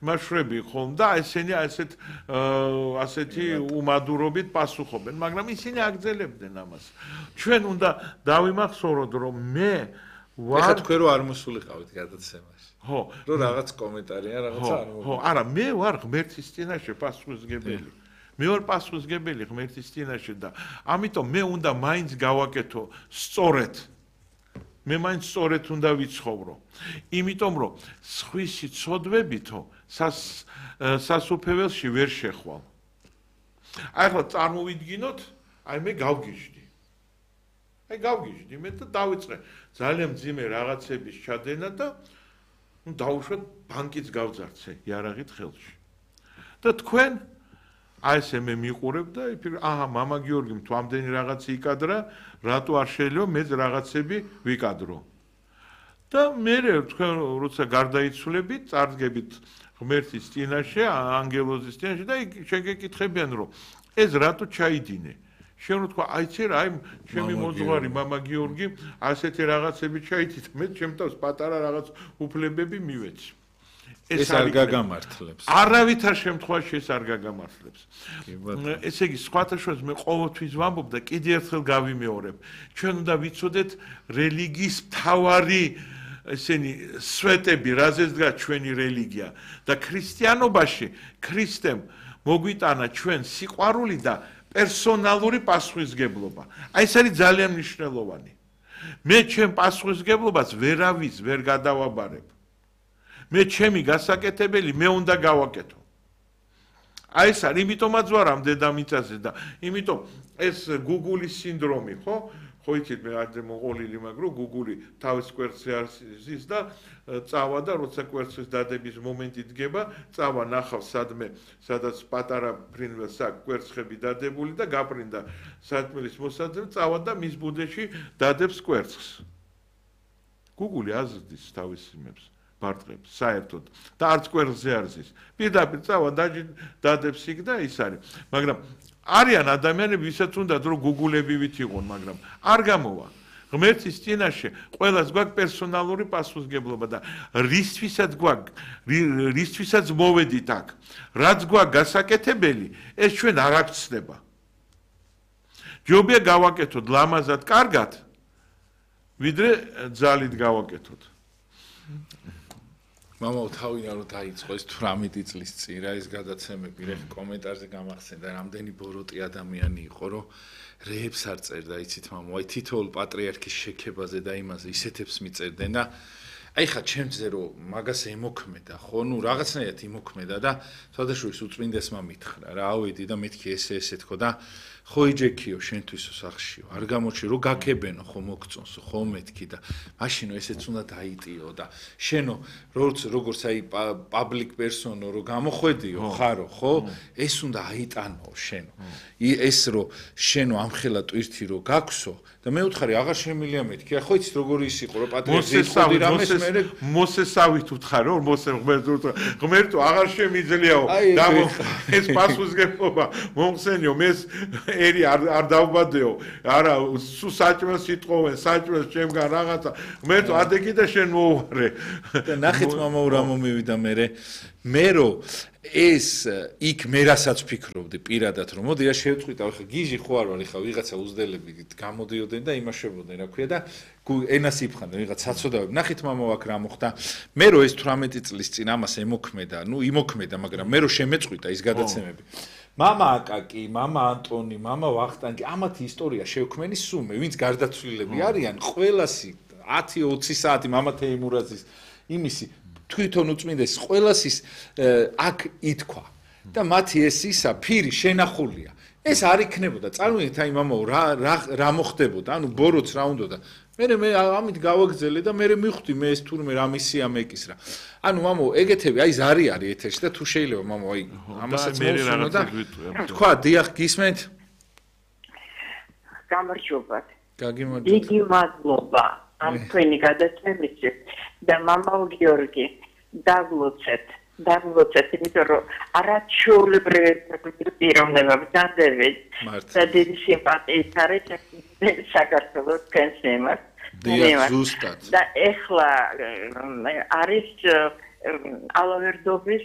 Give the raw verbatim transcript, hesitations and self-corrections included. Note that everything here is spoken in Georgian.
მაშვები ხომ და ესენი ასეთ ასეთი უმადურობით პასუხობენ, მაგრამ ისინი აგრძელებდნენ ამას. ჩვენ უნდა დავიმახსოვროთ, რომ მე ვარ ეხლა თქვენ რო არ მოსულიყავით გადაცემაში. ხო, რომ რაღაც კომენტარია, რაღაცა არ ხო, არა, მე ვარ ღმერთის წინაშე პასუხისმგებელი. მე ვარ პასუხისმგებელი ღმერთის წინაშე და ამიტომ მე უნდა მაინც გავაკეთო სწორედ. მე მაინც სწორედ უნდა ვიცხოვრო. იმიტომ რომ სხვისი ცოდვებითო სასუფეველში ვერ შეხვალ. აი ახლა წარმოვიდგინოთ, აი მე გავგიჟდი. აი გავგიჟდი მე და დავიწყე ძალიან მძიმე რაღაცების ჩადენა და ნუ დავუშვათ ბანკიც გავძარცე იარაღით ხელში. და თქვენ აი ესე მე მიყურებ და აჰა მამა გიორგიმ თუ ამდენი რაღაც იკადრა, რატო არ შეიძლება მეც რაღაცები ვიკადრო. და მე თქვენ როცა გარდაიცვლებით, წარდგებით ღმერთის წინაშე, ანგელოზის წინაშე და შენ გეკითხებიან რომ ეს რატო ჩაიდინე? შენ რო თქვა აიცი რა, აი ჩემი მოძღვარი მამა გიორგი ასეთი რაღაცები ჩაითით, მე ჩემ თავს პატარა რაღაც უფლებები მივეცი. ეს არ გაგამართლებს. არავითარ შემთხვევაში ეს არ გაგამართლებს. ესე იგი, სხვათა შორის მე ყოველთვის ვამბობ და კიდევ ერთხელ გავიმეორებ. ჩვენ უნდა ვიცოდეთ რელიგიის მთავარი ესენი სვეტები, რაზეც დგას ჩვენი რელიგია და ქრისტიანობაში ქრისტემ მოგვიტანა ჩვენ სიყვარული და პერსონალური პასუხისმგებლობა. აი ეს არის ძალიან მნიშვნელოვანი. მე ჩემ პასუხისმგებლობას ვერავის ვერ გადავაბარებ. მე ჩემი გასაკეთებელი მე უნდა გავაკეთო. აი ეს არის, იმიტომაც ვარ ამ დედამიწაზე და იმიტომ ეს გუგულის სინდრომი, ხო? ხო იცით მე არ მოყოლილი მაგრამ გუგული თავის კვერცხზე არ ზის და წავა და როცა კვერცხის დადების მომენტი დგება, წავა ნახავს სადმე, სადაც პატარა ფრინველს აქვს კვერცხები დადებული და გაპრინდა სათმელის მოსაძებ, წავა და მის ბუდეში დადებს კვერცხს. გუგული აზრდის თავის იმებს. ბარტყებს საერთოდ და არც კვერცხზე არ ზის. პირდაპირ წავა დადებს იქ და ის არის. მაგრამ არიან ადამიანები, ვისაც უნდათ რომ გუგულებივით იყონ, მაგრამ არ გამოვა. ღმერთის წინაშე ყველას გვაქვს პერსონალური პასუხისმგებლობა და რისთვისაც გვაქვს, რისთვისაც მოვედით აქ, რაც გვაქვს გასაკეთებელი, ეს ჩვენ არ აღწდება. ჯობია გავაკეთოთ ლამაზად, კარგად, ვიდრე ძალით გავაკეთოთ. მამა თავიდან რომ დაიწყო ეს თვრამეტი წლის წინ რა ეს გადაცემები, რა კომენტარზე გამახსენდა, რამდენი ბოროტი ადამიანი იყო, რომ რეებს არ წერდა, იცით მამა, აი თითოეულ პატრიარქის შექებაზე და იმაზე ისეთებს მიწერდნენ და აი ხა ჩემზე რომ მაგას ემოქმედა, ხო, ნუ რაღაცნაირად იმოქმედა და თავდაშორის უწმინდესმა მითხრა, რა ავედი და მეთქი ესე ესე თქო და ხო იჯექიო შენთვისო სახშიო, არ გამოჩი რომ გაქებენო ხო მოგწონსო, ხო მეთქი და მაშინო ესეც უნდა დაიტიო და შენო როგორც როგორც აი პაბლიკ პერსონო რომ გამოხვედიო ხარო, ხო? ეს უნდა აიტანო შენო. ეს რომ შენო ამხელა ტვირთი რომ გაქვსო და მე უთხარი აღარ შემილია მეთქი, ხო იცით როგორი ის იყო რომ პატრიარქი იყო რამეს მე მოსესავით უთხარი რომ მოსე ღმერთო ღმერთო აღარ შემიძლიაო და ეს პასუხისმგებლობა მომხსენიო მეს ერი არ დავბადეო არა სულ საჭმელს იტყოვენ საჭმელს ჩემგან რაღაცა ღმერთო ადეგი და შენ მოუვარე და ნახეთ მამა რა მომივიდა მე მე რომ ეს იქ მე რასაც ფიქრობდი პირადად რომ მოდი რა შევწყვიტავ ხა გიჟი ხო არ ვარ ხა ვიღაცა უზდელები გამოდიოდნენ და იმაშებოდნენ რა ქვია და ენას იფხანდნენ ვიღაც საწოდავები ნახეთ მამა აქ რა მოხდა მე რომ ეს თვრამეტი წლის წინ ამას ემოქმედა ნუ იმოქმედა მაგრამ მე რომ შემეწყვიტა ის გადაცემები მამა აკაკი მამა ანტონი მამა ვახტანგი ამათი ისტორია შევქმენი სუმე ვინც გარდაცვლილები არიან ყველასი ათი ოცი საათი მამა თეიმურაძის იმისი თვითონ უწმინდეს ყველასის აქ ითქვა და მათი ეს ისა ფირი შენახულია ეს არ იქნებოდა წარმოიდგინეთ აი მამაო რა რა მოხდებოდა ანუ ბოროც რა უნდოდა მე მე ამით გავაგზელე და მე მივხვდი მე ეს თურმე რა მისია მეკისრა ანუ მამაო ეგეთები აი ზარი არის ეთერში და თუ შეიძლება მამაო აი ამასაც მოვსუნო და თქვა დიახ გისმენთ გამარჯობათ გაგიმარჯობთ იგი მადლობა ამ თქვენი გადაცემისთვის და მამაო გიორგი დაგლოცეთ დაგლოცეთ იმიტომ რომ არაჩვეულებრივი პიროვნება ვდანდებით და დიდი სიმპათიით არის საქართველოს კენსემას ზუსტად და ეხლა არის ალავერდობის